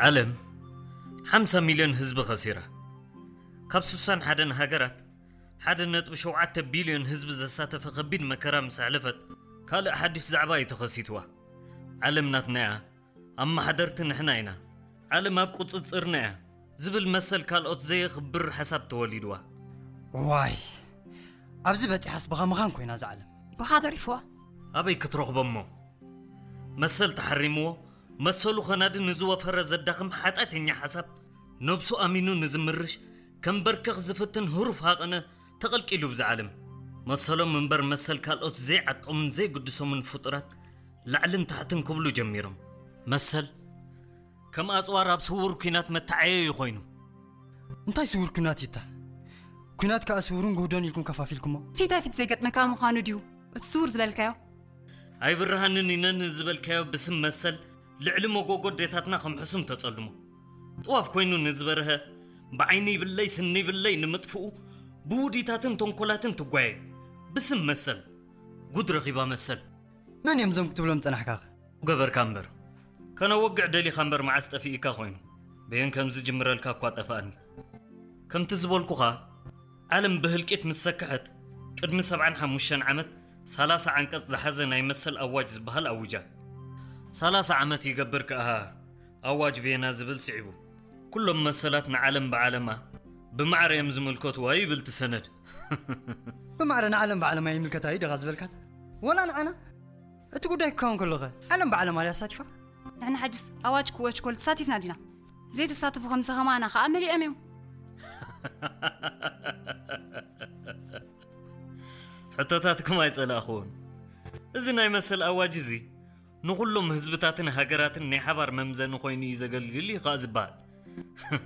ዓለም ሓምሳ ሚልዮን ህዝቢ ኸሲራ። ካብ ስሳን ሓደን ሃገራት ሓደ ነጥቢ ሸውዓተ ቢልዮን ህዝቢ ዘሳተፈ ከቢድ መከራ ምስ ኣሕለፈት፣ ካልእ ሓድሽ ዛዕባ እዩ ተኸሲትዋ። ዓለም ናትና እያ፣ ኣመሓደርቲ ንሕና ኢና፣ ዓለም ኣብ ቁጽጽርና እያ ዝብል መሰል ካልኦት ዘየኽብር ሓሳብ ተወሊድዋ። ዋይ፣ ኣብዚ በፂሓስ ብኻ ምኻን ኮይና እዛ ዓለም። ብኻ ተሪፍዋ። ኣበይ ክትረኽቦ እሞ? መሰል ተሓሪምዎ፣ መሰሉ ኸናዲ ንዝወፈረ ዘዳኽም ሓጢኣተኛ ሓሳብ፣ ነብሱ ኣሚኑ ንዝምርሽ፣ ከንበርከኽ ዝፍትን ህሩፍ ሃቐነ ተቐልቂሉ ብዛ ዓለም። መሰሎም እምበር መሰል ካልኦት ዘይዓጦምን ዘይግድሶምን ፍጡራት ላዕልን ታሕትን ክብሉ ጀሚሮም። መሰል ከም ኣጽዋር ኣብ ስውር ኲናት መተዓየዩ ኮይኑ። እንታይ ስውር ኲናት ይታ? ኲናት ከኣ ስውርን ግህዶን ኢልኩም ከፋፊልኩሞ። ፊት ንፊት ዘይገጥመካ ምዃኑ ድዩ እቲ ስውር ዝበልካዮ? ኣይብርሃንን ኢነን ዝበልካዮ ብስም መሰል ልዕሊ መጎጎ ኣዴታትና ከም ሕሱም ተጸልሞ። ጥዋፍ ኮይኑ ንዝበርሀ ብዓይኒ ይብለይ ስኒ ይብለይ ንምጥፍኡ ብውዲታትን ተንኮላትን ትጓየ። ብስም መሰል ጉድ ረኺባ መሰል። መን እዮም እዞም ክትብሎም ጸናሕካኸ? ገበርካ እምበር። ከነወግዕ ደሊኻ እምበር መዓስ ጠፊእካ ኮይኑ። በየን ከም ዝጅምረልካ እኳ ጠፋኣኒ። ከምቲ ዝበልኩኻ ዓለም ብህልቂት ምስ ሰከሐት ቅድሚ ሰብዓን ሓሙሽተን ዓመት ሰላሳ ዓንቀጽ ዝሓዘ ናይ መሰል ኣዋጅ ዝበሃል ኣዊጃ። ሰላሳ ዓመት ይገብር ከኣ ኣዋጅ ቬና ዝብል ስዒቡ። ኩሎም መሰላት ንዓለም ብዓለማ ብማዕረ እዮም ዝምልከትዋ ይብል እቲ ሰነድ። ብማዕረ ንዓለም ብዓለማ ይምልከታ እዩ ደኻ ዝበልካት? ወላ ንዓና? እቲ ጉዳይ ክኸውን ከሎኸ ዓለም ብዓለማ ድያ ኣሳቲፋ? ንሕና ሕጅስ ኣዋጅ ክወች ኮል ተሳቲፍና ዲና? ዘይተሳተፉ ከምዚ ኸማና ኸኣ መሊኦም እዮም። ሕቶታትኩም ኣይጸላእኽዎን። እዚ ናይ መሰል ኣዋጅ እዚ ንኹሎም ህዝብታትን ሃገራትን ናይ ሓባር መምዘኒ ኮይኑ እዩ ዘገልግል እዩ ኸኣ ዝበሃል።